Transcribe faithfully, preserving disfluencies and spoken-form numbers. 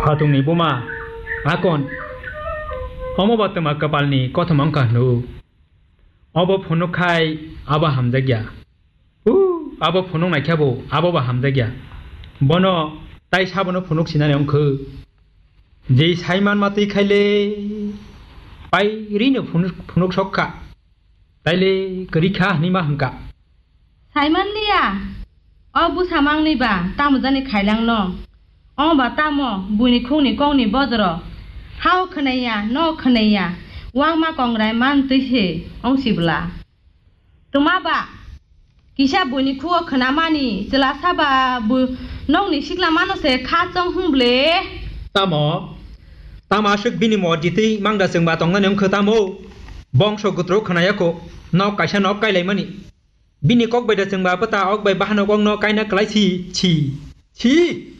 Phatungni buma, akon, omo ba twma kwpalni kothoma wngkha hwnwi. Obo phunuk khai abo hamjakya. Uh, abo phunuk naikha bo, abo ba hamjakya. Bono tai sabono phunuk sinani wngkha. Jei saiman matwi khaile pairino phunuk, phunuk sokha. Taile kwrwi kha hwnwi ma hwnkha. Saiman liya, o bwsa mangni ba tamo jani khailang no. O ba tamo buini khungni kokni bojoro. Hao khwnaiya, no khwnaiya, wangma kongrai man twi se ong sibla. Tuma ba, kisa buini khuo khwnamani chwla saba bu nokni sikla mano se kha chong hwngle. Tamo? Tamo aswk bini mo ditwi mangda chwngba tongnani wngkha tamo? Bongso gutro khwnayakho, nok kaisa nok kailaimani. Bini kok bai da chwngba bwta ok bai bahanok okno kaina kwlai si, si, si.